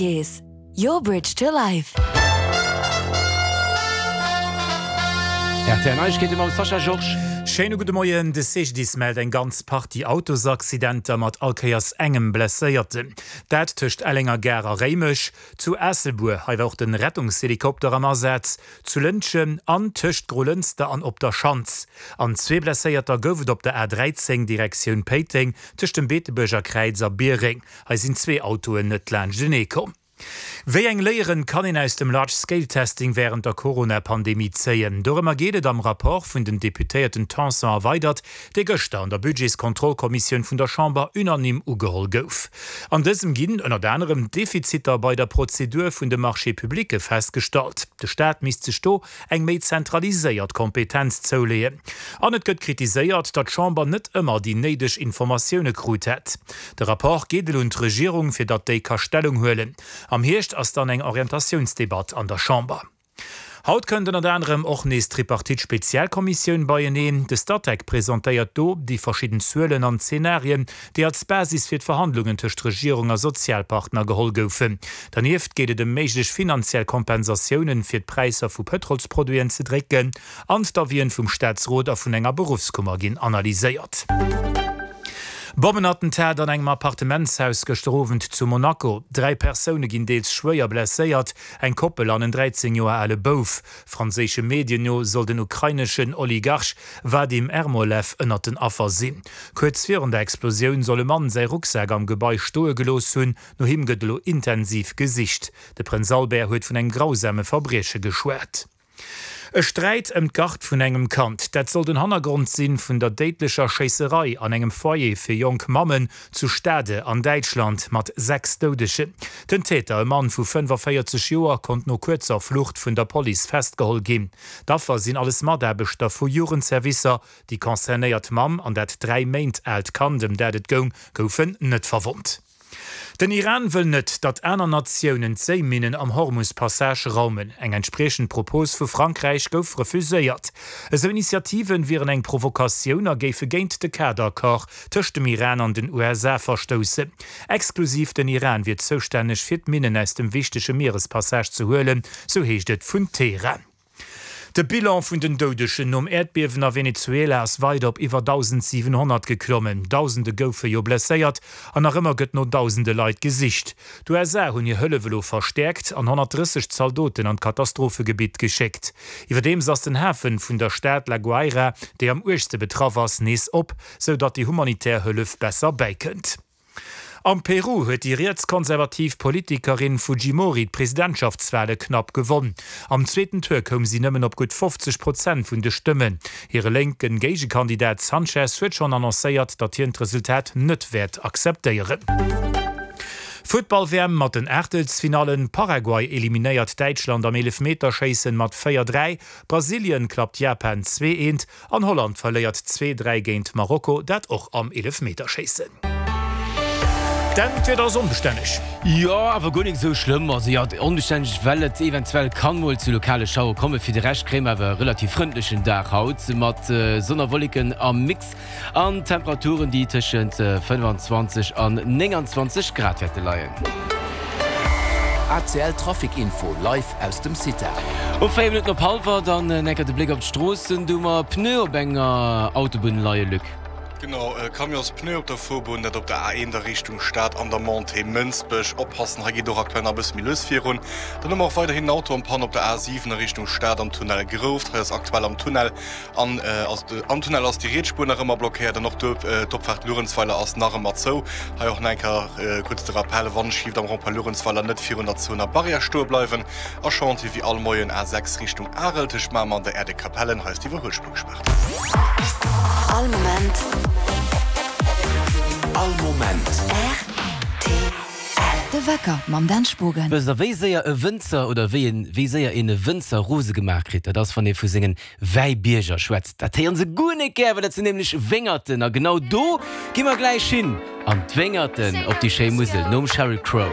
Spuerkeess, your bridge to life. Rtl Neiegkeete mam Sascha Georges. Schéine gudde Moien. De CGDIS mellt eng ganz Partie Autosaccidenter mat all Kéiers engem Blesséierten. Dat tëscht Ellenger Gare a Réimech, zu Aasselbuer, hei war och de Rettungshelikopter am Asaz, zu Lëntgen an tëscht Grolënster an Op der Schanz. An zwee Blesséierter gouf et op der A 13 Direktioun Péiteng tëscht dem Beetebuerger Kräiz a Biereng. Hei sinn zwee Autoen net laanschtenee komm. Wéi eng Léieren kann een aus dem Large Scale Testing wärend der Corona-Pandemie zéien? Dorëmmer geet et am Rapport vun den Deputéierten Tanson a Weydert, dee gëschter an der Budgetskontrollkommissioun vun der Chamber unanime ugeholl gouf. An dësem ginn ënnert anerem Defiziter bei der Prozedur vun de Marchés publics festgestallt. De Staat misst sech do eng méi zentraliséiert Kompetenz zouleeën. An et gëtt kritiséiert, datt d'Chamber net ëmmer déi néideg Informatioune krut hätt. De Rapport geet elo un d'Regierung, fir datt déi ka Stellung huelen. Am Hierscht ass dann eng Orientatiounsdebatt an der Chamber. Haut kënnt ënnert anerem och nees d'Tripartite-Spezialkommissioun beieneen. De Statec presentéiert do déi verschidden Zuelen an Zenarien, déi als Basis fir d'Verhandlungen tëscht Regierung a Sozialpartner geholl goufen. Dernieft geet et ëm méiglech finanziell Kompensatiounen, fir d'Präisser vu Pëtrolsproduiten ze drécken, an d'Avien vum Staatsrot a vun enger Beruffskummer ginn analyséiert. Bommenattentat an engem Appartementshaus gëschter Owend zu Monaco. 3 Persoune ginn deels schwéier blesséiert, eng Koppel an en 13 Joer ale Bouf. Franséische Medien no soll den ukraineschen Oligarch Wadim Ermolev ënnert den Affer sinn. Kuerz virun der Explosioun soll e Mann säi Rucksak am Gebai stoe gelooss hunn. No him gëtt elo intensiv gesicht. De Prënz Albert huet vun engem grausame Verbrieche geschwat. E Sträit ëm d'Gard vun engem Kand, dat soll den Hannergrond sinn vun der déidlecher Schéisserei an engem Foyer fir jonk Mammen zu Stade an Däitschland mat 6 Doudegen. Den Täter, e Mann vu 45 Joer, konnt no kuerzer Flucht vun der Police festgeholl ginn. D'Affer sinn alles Mataarbechter vu Jugendservicer. Déi concernéiert Mamm an dat 3 Méint aalt Kand, ëm dat et goung, goufen net verwonnt. Den Iran wëll net, datt aner Natiounen d'Séiminnen am Hormus-Passage raumen. Eng entspriechend Propos vu Frankräich gouf refuséiert. Esou Initiative wieren eng Provokatioun a géife géint de Kaderaccord tëscht dem Iran an den USA verstoussen. Exklusiv den Iran wier zoustänneg fir d'Minnen aus dem wichtege Mierespassage ze huelen, sou heescht et vun Teheran. De Bilan vun den Doudegen nom Äerdbiewen a Venezuela ass weider op iwwer 1.700 geklommen. Dausende goufe jo blesséiert an nach ëmmer gëtt no dausende Leit gesicht. D'USA hunn hir Hëllef elo verstäerkt an 130 Zaldoten an d'Katastrophegebitt geschéckt. Iwwerdeems ass den Hafen vun der Stad La Guaira, déi am uergste betraff ass, nees op, sou datt déi humanitär Hëllef besser bäikënnt. Am Peru huet déi rietskonservativ Politikerin Fujimori d'Presidentschaftswale knapp gewonn. Am zweeten Tour koum si nëmmen op gutt 50 Prozent vun de Stëmmen. Hire lénke Géigekandidat Sanchez huet schonn annoncéiert, datt hien d'Resultat net wäert akzeptéieren. Futtball-WM mat den Aachtelsfinallen, Paraguay eliminéiert Däitschland am Eelefmeterschéissen mat 4, 3, Brasilien klappt Japan 2, 1 An Holland verléiert 2, 3 géint Marokko, dat och am Eelefmeterschéissen. Dan, d'Wieder ass onbestänneg. Jo, awer guer nik esou schlëmm. Also jo, onbestänneg, well et eventuell kann mol zu lokale Schauere kommen. Fir de Rescht kréie mer awer e relativ frëndlechen Dag haut mat Sonn a Wolleken am Mix an Temperaturen, déi tëschent 25 an 29 Grad wäerte leien. ACL Trafic Info live aus dem CITA. Um 4 Minutten op hallwer dann enker de Bléck op d'Stroossen. Do hu mer Pneu op enger Autobunn leie, Luc. Genau, e Camionspneu op der Fuerbunn, dat op der A1 a Richtung Stad an der Montée Mënsbech. Oppassen, hei geet och aktuell nach e bësse méi lues virun. Dann hu mer och weiderhin en Auto en Panne op der A7 a Richtung Stad am Tunnel Grouft. Hei ass aktuell am Tunnel an am Tunnel ass déi riets Spuer nach ëmmer blockéiert an och d'Opfaart Luerenzweiler ass nach ëmmer zou. Hei och nach eng Kéier kuerz de Rappel, Wann schieft am Rond-point Luerenzweiler net virun der zouener Barrière stoe bleiwen a Chantier wéi all Moien A6 Richtung Arel tëscht Mamer an der Aire de Capellen, hei ass d'Iwwerhuelspuer gespaart. All Moment. All Moment. Rtl. De Wecker mam Dan Spogen. Wësst der wéi séier e Wënzer oder wéi een wéi séier een e Wënzer rose gemaach kritt? Dat ass wann ee vu sengen Wäibierger schwätzt. Dat héieren se guer net gär, well dat sinn nämlech Wéngerten. A genau do gi mer gläich hin, an d'Wéngerten op déi schéi Musel, nom Sheryl Crow.